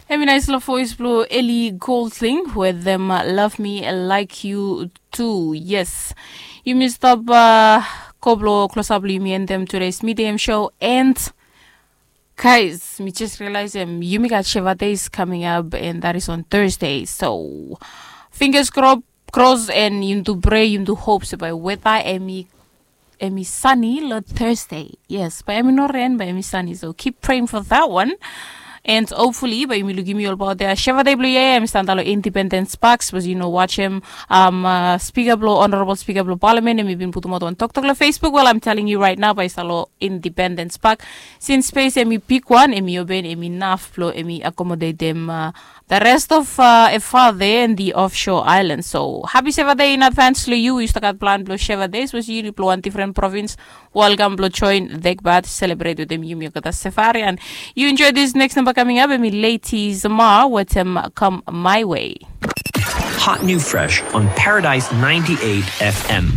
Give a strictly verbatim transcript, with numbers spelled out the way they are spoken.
Em i naispela voes bilong Eli Goldling wetem Love Me Like You Tu. Yes, yumi stap go bilong klosap bilong yumi endem today's medium show. And guys, mi just realizem yumi gat Sheva Days coming up, and that is on Thursday. So fingers cross, and yumi tu pray, yumi tu hope se bai weta em i em i sani long Thursday. Yes, bai em i no ren, bai em i sani. So keep praying for that one. And hopefully bai yumi lukim yu olbaot ya. Sheva Day bilong yia em i stap antap long Independence Park, sapos yu no wasim um, uh, spika bilong honorable spika bilong parliament, em i bin putumaot wan toktok long Facebook. Well, I'm telling you right now, bai i stap long Independence Park. Since space em i bigwan, em i open, em inaf bilong em i accommodatem uh, the rest of uh, Efate and the offshore islands. So happy Sheva Day in advance long yu. Yu stap gat plan bilong Sheva Day, sapos yu long wan different province, welcome bilong join Dekbat, celebrate wetem yumi olgeta Sefari. And you enjoy this next number coming up, em i Lady Zama wetem Come My Way. Hot new fresh on Paradise ninety-eight F M.